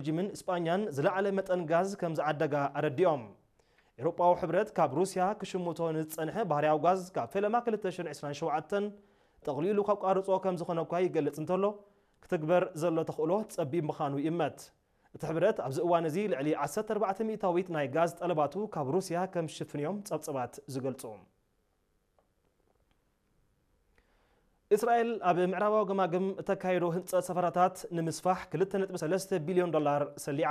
ቤልጂምን ስጳኛን ዝለዓለ መጠን ጋዝ ከም ዝዓደጋ ኣረዲኦም። ኤውሮጳዊ ሕብረት ካብ ሩስያ ክሽምቶ ንዝጸንሐ ባህርያዊ ጋዝ ካብ ፈለማ ክልተ ሽሕን ዕስራን ሸውዓተን ጠቕሊሉ ከቋርጾ ከም ዝኾነ እኳ ይገልጽ እንተሎ፣ ክትግበር ዘሎ ተኽእሎ ጸቢብ ምዃኑ ይእመት። እቲ ሕብረት ኣብዚ እዋን እዚ ልዕሊ ዓሰርተ ኣርባዕተ ሚእታዊት ናይ ጋዝ ጠለባቱ ካብ ሩስያ ከም ዝሽፍን እዮም ጸብጸባት ዝገልጹ። እስራኤል ኣብ ምዕራባዊ ገማግም እተካየዶ ህንጸት ሰፈራታት ንምስፋሕ ክልተ ነጥቢ ሰለስተ ቢልዮን ዶላር ሰሊዓ።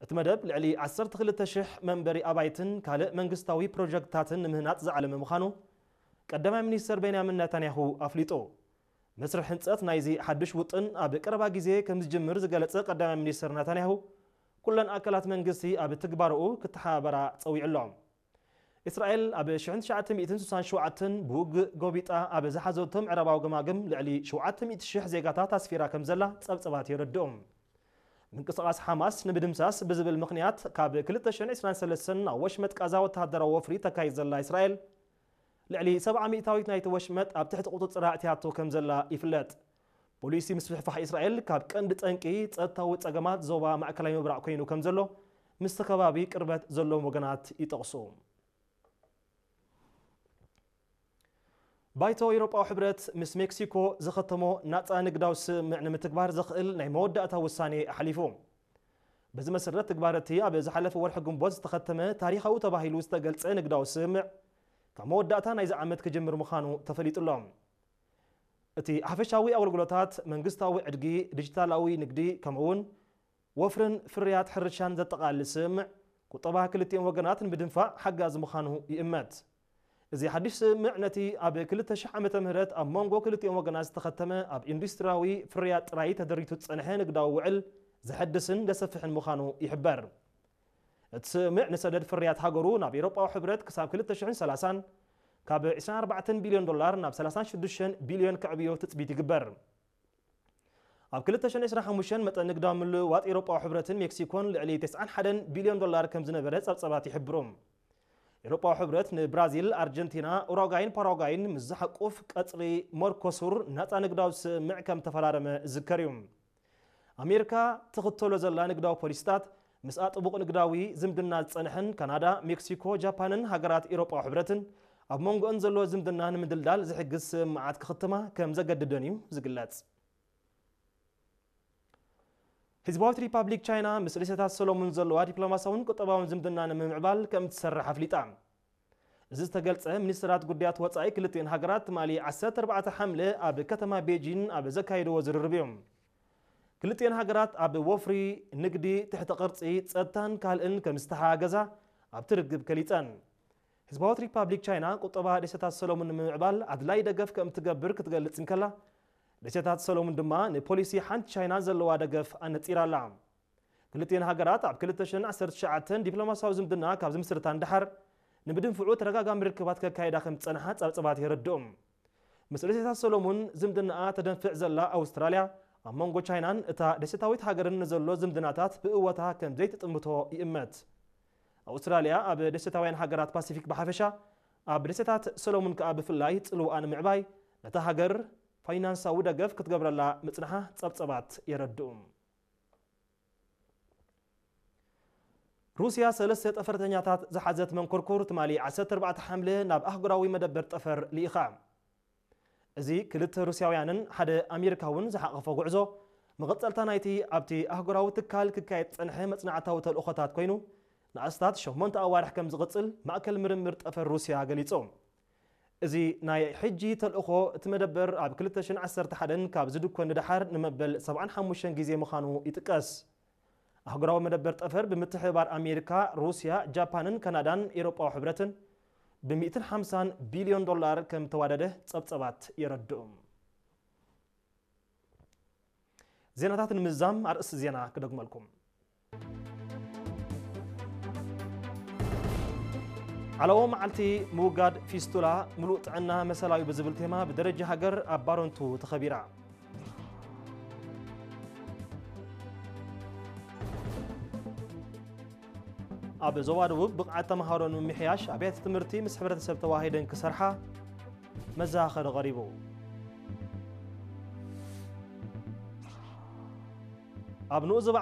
እቲ መደብ ልዕሊ ዓሰርተ ክልተ ሽሕ መንበሪ ኣባይትን ካልእ መንግስታዊ ፕሮጀክትታትን ንምህናጽ ዝዓለመ ምዃኑ ቀዳማይ ሚኒስተር ቤንያሚን ናታንያሁ ኣፍሊጡ። መስርሕ ህንጸት ናይዚ ሓድሽ ውጥን ኣብ ቀረባ ግዜ ከም ዝጅምር ዝገለጸ ቀዳማይ ሚኒስተር ናታንያሁ፣ ኩለን ኣካላት መንግስቲ ኣብ ትግባረኡ ክተሓባበራ ጸዊዑ ኣሎ። እስራኤል ኣብ ሽሕን ትሽዓተ ሚእትን ስሳን ሸውዓተን ብውግእ ጎቢጣ ኣብ ዝሓዘቶ ምዕራባዊ ገማግም ልዕሊ ሸውዓተ ሚእቲ ሽሕ ዜጋታት ኣስፊራ ከም ዘላ ጸብጸባት የረድኡ። ምንቅስቓስ ሓማስ ንምድምሳስ ብዝብል ምኽንያት ካብ ክልተ ሽሕን ዕስራን ሰለስተን ኣብ ወሽመጥ ቃዛ ወተሃደራዊ ወፍሪ ተካይድ ዘላ እስራኤል፣ ልዕሊ ሰብዓ ሚእታዊት ናይቲ ወሽመጥ ኣብ ትሕቲ ቁጽጽራ ኣእትያቶ ከም ዘላ ይፍለጥ። ፖሊሲ ምስፍሕፋሕ እስራኤል ካብ ቀንዲ ጠንቂ ጸጥታዊ ጸገማት ዞባ ማእከላይ ምብራቕ ኮይኑ ከም ዘሎ ምስቲ ከባቢ ቅርበት ዘለዎም ወገናት ይጠቕሱ። ባይቶ ኤውሮጳዊ ሕብረት ምስ ሜክሲኮ ዝኸተሞ ናጻ ንግዳዊ ስምምዕ ንምትግባር ዘኽእል ናይ መወዳእታ ውሳኔ ኣሕሊፉ። በዚ መሰረት፣ ትግባር እቲ ኣብ ዝሓለፈ ወርሒ ግንቦት ዝተኸተመ ታሪኻዊ ተባሂሉ ዝተገልጸ ንግዳዊ ስምምዕ ካብ መወዳእታ ናይዚ ዓመት ክጅምር ምዃኑ ተፈሊጡ ኣሎ። እቲ ሓፈሻዊ ኣገልግሎታት፣ መንግስታዊ ዕድጊ፣ ዲጂታላዊ ንግዲ፣ ከምኡ'ውን ወፍርን ፍርያት ሕርሻን ዘጠቓልል ስምምዕ፣ ቁጠባ ክልቲኦም ወገናት ንምድንፋዕ ሓጋዚ ምዃኑ ይእመት። እዚ ሓድሽ ስምምዕ ነቲ ኣብ ክልተ ሽሕ ዓመተ ምህረት ኣብ መንጎ ክልቲኦም ወገናት ዝተኸተመ ኣብ ኢንዱስትሪያዊ ፍርያት ጥራይ ተደሪቱ ዝጸንሐ ንግዳዊ ውዕል ዘሐድስን ዘሰፍሕን ምዃኑ ይሕበር። እቲ ስምምዕ ንሰደድ ፍርያት ሃገሩ ናብ ኤውሮጳዊ ሕብረት ክሳብ ክልተ ሽሕን ሰላሳን ካብ ዕስራን ኣርባዕተን ቢልዮን ዶላር ናብ ሰላሳን ሽዱሽተን ቢልዮን ከዕብዮ ትጽቢት ይግበር። ኣብ ክልተ ሽሕን ዕስራን ሓሙሽተን መጠን ንግዳዊ ምልውዋጥ ኤውሮጳዊ ሕብረትን ሜክሲኮን ልዕሊ ተስዓን ሓደን ቢልዮን ዶላር ከም ዝነበረ ጸብጸባት ይሕብሩ። ኤውሮጳዊ ሕብረት ንብራዚል፣ ኣርጀንቲና፣ ኡራጓይን ፓራጓይን ምስ ዝሓቁፍ ቀጽሪ መርኮሱር ናጻ ንግዳዊ ስምምዕ ከም ተፈራረመ ዝዝከር እዩ። ኣሜሪካ ትኽተሎ ዘላ ንግዳዊ ፖሊሲታት፣ ምስኣ ጥቡቕ ንግዳዊ ዝምድና ዝጸንሐን ካናዳ፣ ሜክሲኮ፣ ጃፓንን ሃገራት ኤውሮጳዊ ሕብረትን ኣብ መንጎአን ዘሎ ዝምድና ንምድልዳል ዝሕግዝ ስምምዓት ክኽትማ ከም ዘገድደን እዩ ዝግለጽ። ህዝባዊት ሪፓብሊክ ቻይና ምስ ደሴታት ሰሎሙን ዘለዋ ዲፕሎማሲያውን ቁጠባውን ዝምድና ንምምዕባል ከም እትሰርሕ ኣፍሊጣ። እዚ ዝተገልጸ፣ ሚኒስትራት ጉዳያት ወጻኢ ክልቲኤን ሃገራት ትማሊ ዓሰርተ ኣርባዕተ ሓምለ ኣብ ከተማ ቤጂን ኣብ ዘካየድዎ ዝርርብ እዩ። ክልቲኤን ሃገራት ኣብ ወፍሪ፣ ንግዲ፣ ትሕተ ቅርጺ፣ ጸጥታን ካልእን ከም ዝተሓጋገዛ ኣብቲ ርክብ ገሊጸን። ህዝባዊት ሪፓብሊክ ቻይና ቁጠባ ደሴታት ሰሎሙን ንምምዕባል ኣድላይ ደገፍ ከም እትገብር ክትገልጽ እንከላ፣ ደሴታት ሰሎሙን ድማ ንፖሊሲ ሓንቲ ቻይና ዘለዋ ደገፍ ኣነጺራ ኣላ። ክልቲኤን ሃገራት ኣብ ክልተ ሽሕን ዓሰርተ ትሽዓተን ዲፕሎማሲያዊ ዝምድና ካብ ዝምስርታ ንደሓር፣ ንምድንፍዑ ተደጋጋሚ ርክባት ከካይዳ ከም ዝጸንሓ ጸብጸባት የረድኡ። ምስ ደሴታት ሰሎሙን ዝምድናኣ ተደንፍዕ ዘላ ኣውስትራልያ፣ ኣብ መንጎ ቻይናን እታ ደሴታዊት ሃገርን ንዘሎ ዝምድናታት ብእወታ ከም ዘይትጥምቶ ይእመት። ኣውስትራልያ ኣብ ደሴታውያን ሃገራት ፓሲፊክ ብሓፈሻ፣ ኣብ ደሴታት ሰሎሙን ከኣ ብፍላይ ጽልዋኣ ንምዕባይ፣ ነታ ሃገር ፋይናንሳዊ ደገፍ ክትገብረላ ምጽንሓ ጸብጸባት የረድኡ። ሩስያ ሰለስተ ጠፈርተኛታት ዝሓዘት መንኮርኮር ትማሊ ዓሰርተ ኣርባዕተ ሓምለ ናብ ኣህጉራዊ መደበር ጠፈር ልኢኻ። እዚ ክልተ ሩስያውያንን ሓደ ኣሜሪካውን ዝሓቐፈ ጉዕዞ፣ መቐጸልታ ናይቲ ኣብቲ ኣህጉራዊ ትካል ክካየድ ዝጸንሐ መጽናዕታዊ ተልእኾታት ኮይኑ፣ ንኣስታት ሸሞንተ ኣዋርሕ ከም ዝቕጽል ማእከል ምርምር ጠፈር ሩስያ ገሊጹ። እዚ ናይ ሕጂ ተልእኾ፣ እቲ መደበር ኣብ ክልተ ሽሕን ዓሰርተ ሓደን ካብ ዝድኮን ንደሓር ንመበል ሰብዓን ሓሙሽተን ግዜ ምዃኑ ይጥቀስ። ኣህጉራዊ መደበር ጠፈር ብምትሕብባር ኣሜሪካ፣ ሩስያ፣ ጃፓንን ካናዳን ኤውሮጳዊ ሕብረትን ብሚእትን ሓምሳን ቢልዮን ዶላር ከም ተዋደደ ጸብጸባት የረድኡ። ዜናታት ንምዝዛም ኣርእስቲ ዜና ክደግመልኩም። ዓለማዊ መዓልቲ ምውጋድ ፊስቱላ፣ ምሉእ ጥዕና መሰላዊ ብዝብል ቴማ ብደረጃ ሃገር ኣብ ባረንቱ ተኸቢራ። ኣብ ዞባ ደቡብ ብቕዓት ተምሃሮ ንምምሕያሽ ኣብያተ ትምህርቲ ምስ ሕብረተሰብ ተዋሂደን ክሰርሓ መዘኻኸሪ ቀሪቡ። ኣብ ንኡስ ዞባ